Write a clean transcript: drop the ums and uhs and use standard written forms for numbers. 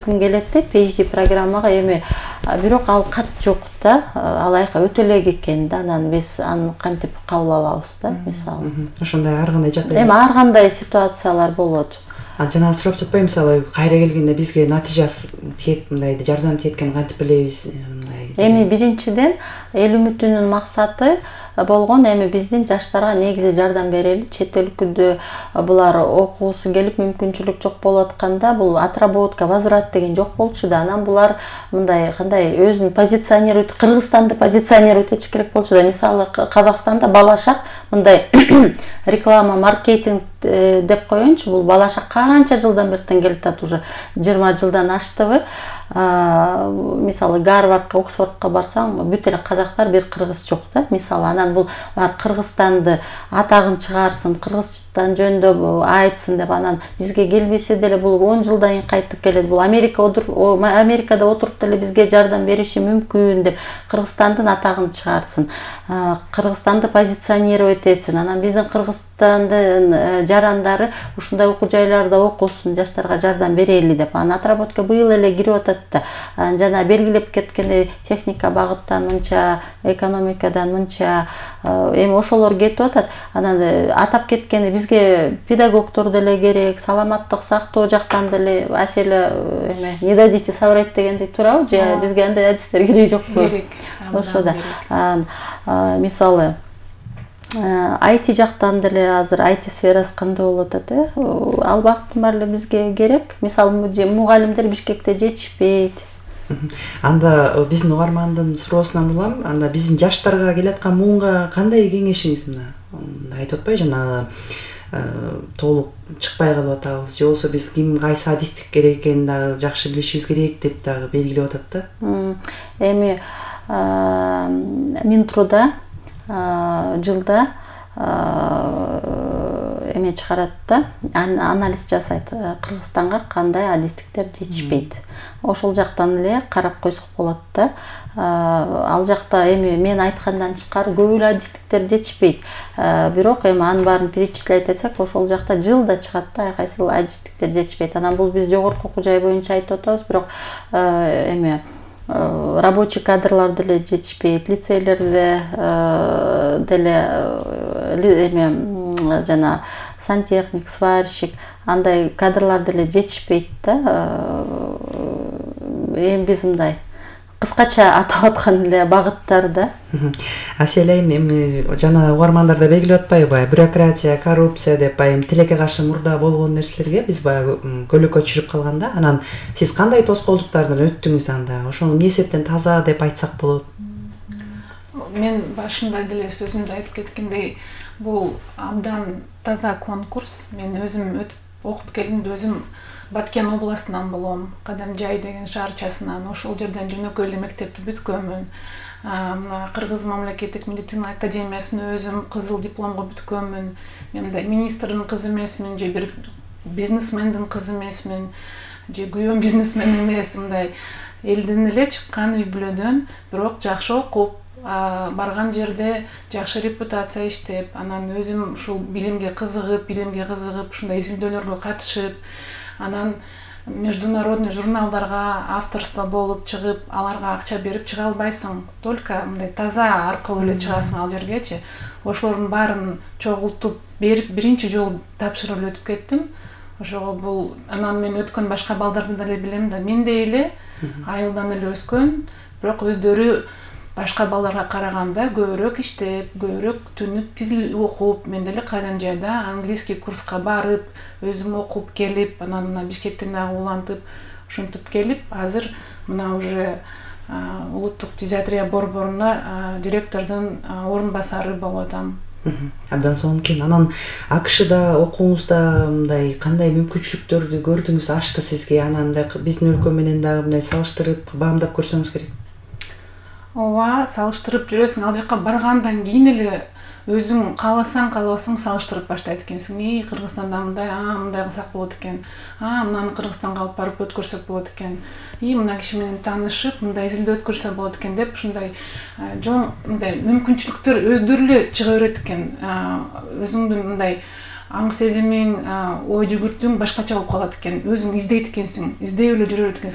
күн келет да PhD программага эми бирок ал кат жок да, алайка өтө элек экен да, анан биз аны кантип кабыл алабыз да, мисалы. Ошондой ар кандай жакта. Эми ар кандай ситуациялар болот. Жана сурап жатпайбы, мисалы кайра келгенде бизге натыйжасы тиет, мындай жардам тиет экенин кантип билебиз, мындай. Эми биринчиден эл үмүтүнүн максаты болгон эми биздин жаштарга негизи жардам берели. Чет өлкөдө булар окуусу келип мүмкүнчүлүк жок болуп атканда бул отработка, возврат деген жок болчу да. Анан булар мындай кандай өзүн позиционируйт, Кыргызстанды позиционируйт этиш керек болчу да. Мисалы Казакстанда балашак мындай реклама, маркетинг деп коеюнчу, бул балашак канча жылдан бертен келип атат, уже 20 жылдан аштыбы. Мисалы Гарвардка, Оксфордко барсаң, бүт эле казактар, бир кыргыз жок да. Мисалы анан бул Кыргызстанды атагын чыгарсын, Кыргызстан жөнүндө айтсын деп анан бизге келбесе деле бул 10 жылдан кийин кайтып келет. Бул Америкада отуруп деле бизге жардам бериши мүмкүн деп Кыргызстандын атагын чыгарсын, Кыргызстанды позиционировать этсин. Анан биздин Кыргызстандын жарандары ушундай окуу жайларда окусун, жаштарга жардам берели деп. Анан отработка быйыл эле кирип атат да. Жана белгилеп кеткендей техника багыттан мынча, экономикадан мынча, эми ошолор кетип атат. Анан атап кеткенде бизге педагогдор деле керек, саламаттык сактоо жактан деле аселе эме не дадите соврать дегендей туурабы, же бизге андай адистер керек жокпу? Керек. Ошо да. Мисалы IT жактан деле азыр IT сферасы кандай болуп атат, ал багыттын баары бизге керек. Мисалы мугалимдер Бишкекте жетишпейт. Анда биздин угармандын суроосунан улам, анда биздин жаштарга келаткан муунга кандай кеңешиңиз мына айтып атпайбы, жана толук чыкпай калып атабыз, же болбосо биз ким кайсы адистик керек экенин дагы жакшы билишибиз керек деп дагы белгилеп атат да. Эми Минтруда жылда эме чыгарат да, анализ жасайт, Кыргызстанга кандай адистиктер жетишпейт. Ошол жактан эле карап койсок болот да. Ал жакта эми мен айткандан тышкары көп эле адистиктер жетишпейт. Бирок эми анын баарын перечислять этсек, ошол жакта жылда чыгат да, кайсы адистиктер жетишпейт. Анан бул биз жогорку окуу жай боюнча айтып атабыз, бирок эми рабочий кадрлар деле жетишпейт, лицейлерде деле эме жана сантехник, сварщик, андай кадрлар деле жетишпейт да. Эми биз мындай кыскача атап аткан эле багыттар да. Аселе эми жана угармандар да белгилеп атпайбы, бюрократия, коррупция деп байым тилекке каршы мурда болгон нерселерге биз баягы көлөкө түшүрүп калганда, анан сиз кандай тоскоолдуктардан өттүңүз анда? Ошону эмне себептен таза деп айтсак болот? Мен башында деле сөзүмдө айтып кеткендей, бул абдан таза конкурс. Мен өзүм өтүп окуп келгенде өзүм Баткен областынан болом, Кадамжай деген шаарчасынан. Ошол жерден жөнөкөй эле мектепти бүткөнмүн. Мына Кыргыз мамлекеттик медицина академиясын өзүм кызыл дипломго бүткөнмүн. Мен министрдин кызы эмесмин, же бир бизнесмендин кызы эмесмин, же күйөөм бизнесмен эмес, мындай элден эле чыккан үй бүлөдөн, бирок жакшы окуп, барган жерде жакшы репутация иштеп, анан өзүм ушул билимге кызыгып, ушундай изилдөөлөргө катышып, анан международный журналдарга авторство болуп чыгып, аларга акча берип чыга албайсың. Только мындай таза аркылуу эле чыгасың ал жергечи. Ошолордун баарын чогултуп берип биринчи жолу тапшырып эле өтүп кеттим. Ошого бул анан мен өткөн башка балдарды деле билем да, мендей эле айылдан эле өскөн, бирок өздөрү башка балдарга караганда көбүрөөк иштеп, көбүрөөк түнү тил окуп, мен деле Кадамжайда английский курска барып, өзүм окуп келип, анан мына Бишкектен дагы улантып, ушинтип келип, азыр мына уже улуттук фтизиатрия борборуна директордун орун басары болуп атам. Абдан сонун. Анан АКШда окууңузда мындай кандай мүмкүнчүлүктөрдү көрдүңүз, ашты сизге? Анан биздин өлкө менен дагы мындай салыштырып, баамдап көрсөңүз керек. Ооба, салыштырып жүрөсүң. Ал жака баргандан кийин эле өзүң кааласаң, каалабасаң салыштырып баштайт экенсиң. Кыргызстанда мындай кылсак болот экен. Мынаны Кыргызстанга алып барып өткөрсөк болот экен. Мына киши менен таанышып, мындай изилдөө өткөрсө болот экен деп ушундай мындай мүмкүнчүлүктөр өздөрү эле чыга берет экен. Өзүңдүн мындай аң сезимиң, ой жүгүртүүң башкача болуп калат экен. Өзүң издейт экенсиң, издеп эле жүрөр экенсиң.